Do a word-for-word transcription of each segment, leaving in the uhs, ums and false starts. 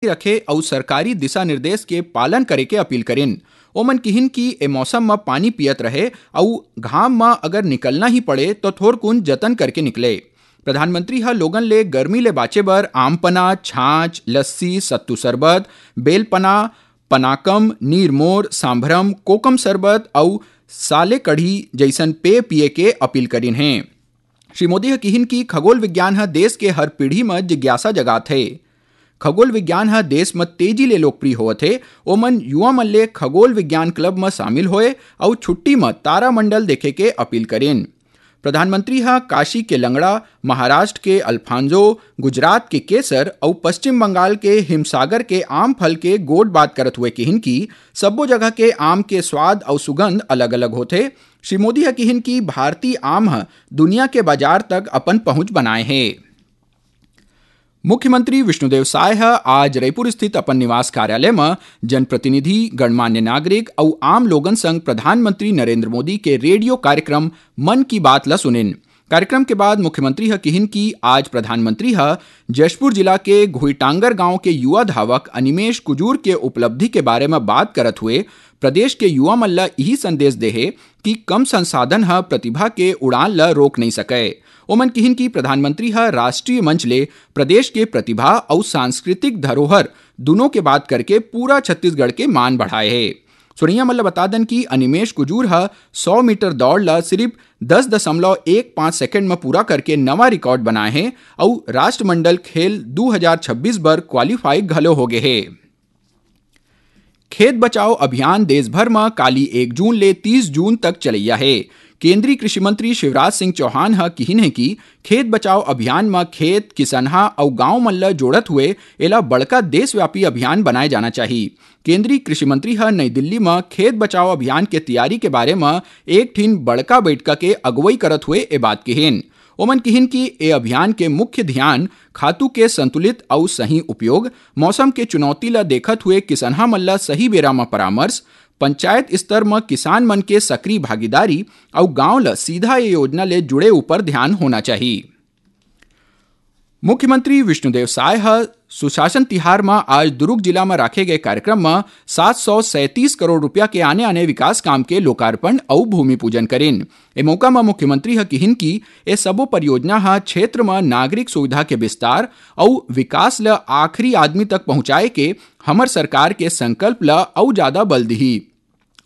रखे अउ सरकारी दिशा निर्देश के पालन करे के अपील करिन। ओमन किहिन कि ए मौसम म पानी पियत रहे अउ घाम म अगर निकलना ही पड़े, तो थोरकुन जतन करके निकले। प्रधानमंत्री ह लोगन ले गर्मी ले बाचे बर आम पना, छाछ, लस्सी, सत्तू शरबत, बेल पना, पनाकम, नीरमोर, सांभरम, कोकम शरबत अउ साले कढ़ी जइसन पेय पिए के अपील करिन हे। श्री मोदी ह किहिन कि खगोल विज्ञान ह देश के हर पीढ़ी म जिज्ञासा जगात हे। खगोल विज्ञान ह देश म तेजी ले लोकप्रिय होवत हे। ओमन युवा मन ले खगोल विज्ञान क्लब म शामिल होए अउ छुट्टी म तारामंडल देखे के अपील करिन। प्रधानमंत्री ह काशी के लंगड़ा, महाराष्ट्र के अल्फांजो, गुजरात के केसर अउ पश्चिम बंगाल के हिमसागर के आम फल के गोठ बात करत हुए किहिन कि सब्बो जगह के आम के स्वाद अउ सुगंध अलग-अलग होथे। श्री मोदी ह किहिन कि भारतीय आम ह दुनिया के बाजार तक अपन पहुंच बनाए हे। मुख्यमंत्री विष्णुदेव साय ह आज रईपुर स्थित अपन निवास कार्यालय म जनप्रतिनिधि, गणमान्य नागरिक अउ आम लोगन संग प्रधानमंत्री नरेंद्र मोदी के रेडियो कार्यक्रम मन की बात ल सुनिन। कार्यक्रम के बाद मुख्यमंत्री ह किहिन कि आज प्रधानमंत्री ह जशपुर जिला के घुईटांगर गांव के युवा धावक अनिमेश कुजूर के उपलब्धि के बारे म बात करत हुए प्रदेश के युवा मन ल इही संदेश दे हे कि कम संसाधन ह प्रतिभा के उड़ान ल रोक नइ सकय। ओमन किहिन कि प्रधानमंत्री ह राष्ट्रीय मंच ले प्रदेश के प्रतिभा अउ सांस्कृतिक धरोहर दुनों के बात करके पूरा छत्तीसगढ़ के मान बढ़ाए हे। सुनइया मन ल बता दन कि अनिमेश कुजूर ह सौ मीटर दौड़ ल सिर्फ दस दशमलव एक पाँच सेकंड म पूरा करके नवा रिकॉर्ड बनाए हे अउ राष्ट्रमंडल खेल दू हजार छब्बीस बर क्वालीफाई घलो हो गे हे। खेत बचाओ अभियान देश भर म काली एक जून ले तीस जून तक चलइया हे। केंद्रीय कृषि मंत्री शिवराज सिंह चौहान ह किहिन हे कि खेत बचाओ अभियान म खेत, किसनहा अउ गांव मन ल जोड़त हुए एला बड़का देशव्यापी अभियान बनाए जाना चाही। केंद्रीय कृषि मंत्री ह नई दिल्ली म खेत बचाओ अभियान के तैयारी के बारे म एक ठिन बड़का बैठका के अगुवई करत हुए ए बात किहिन। ओमन किहिन कि ए अभियान के मुख्य ध्यान खातू के संतुलित अउ सही उपयोग, मौसम के चुनौती ल देखत हुए किसनहा मन ल सही बेरा म परामर्श, पंचायत स्तर म किसान मन के सक्रिय भागीदारी अउ गांव ल सीधा ए योजना ले जुड़े ऊपर ध्यान होना चाही। मुख्यमंत्री विष्णुदेव साय ह सुशासन तिहार म आज दुरूग जिला म राखे गए कार्यक्रम म सात सौ सैंतीस करोड़ रुपया के आने-आने विकास काम के लोकार्पण अउ भूमि पूजन करिन। ए मौका म मुख्यमंत्री ह किहिन कि ए सबो परियोजना ह क्षेत्र म नागरिक सुविधा के विस्तार अउ विकास ल आखिरी आदमी तक पहुंचाए के हमर सरकार के संकल्प ल अउ जादा बल दिही।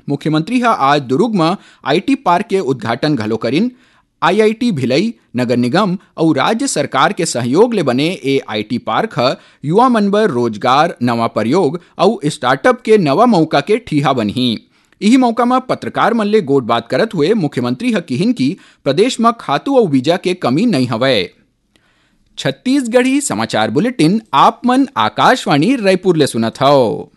मुख्यमंत्री ह आज दुरूग म आईटी पार्क के उद्घाटन घलो करिन। आईआईटी भिलई, नगर निगम अउ राज्य सरकार के सहयोग ले बने ए आईटी पार्क ह युवा मन बर रोजगार, नवा प्रयोग अउ स्टार्टअप के नवा मौका के ठीहा बनही। इही मौका म पत्रकार मन ले गोठ बात करत हुए मुख्यमंत्री ह किहिन कि प्रदेश म खातू अउ बीजा के कमी नइ हवय। छत्तीसगढ़ी समाचार बुलेटिन आप मन आकाशवाणी रायपुर ले सुनत हव।